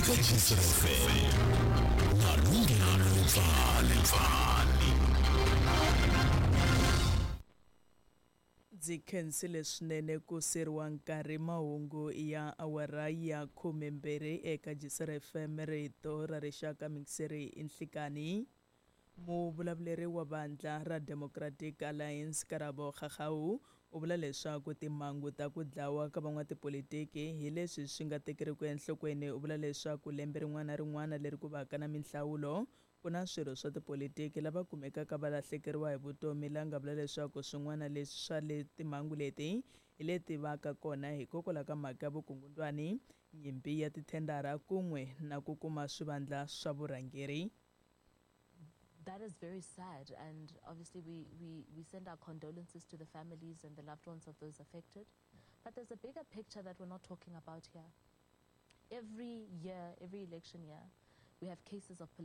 Eka GCFM na Lunghelo Mpfani. Ndzi khensile swinene ku seriwa nkarhi mahungu ya awara ya 12 eka Jisere FM rito ra rixaka mixeri i nhlikani. Muvulavuleri wa vandla ra Democratic Alliance Karabo Kgagau u vula leswaku timhangu ta ku dlawa ka van'watipolitiki hi leswi swi nga tekeriku enhlokweni. U vula leswaku lembe rin'wana na rin'wana leri ku vaka na minhlawulo ku na swirho swa tipolitiki lava kumekaka va lahlekeriwa hi vutomi la nga vula leswaku swin'wana leswi swa le timhangu leti hi leti vaka kona hikokwalaho ka mhaka ya vukungundwani, nyimpi ya tithendara kun'we na ku kuma swivandla swa vurhangeri. That is very sad, and obviously we send our condolences to the families and the loved ones of those affected. But there's a bigger picture that we're not talking about here. Every year, every election year, we have cases of political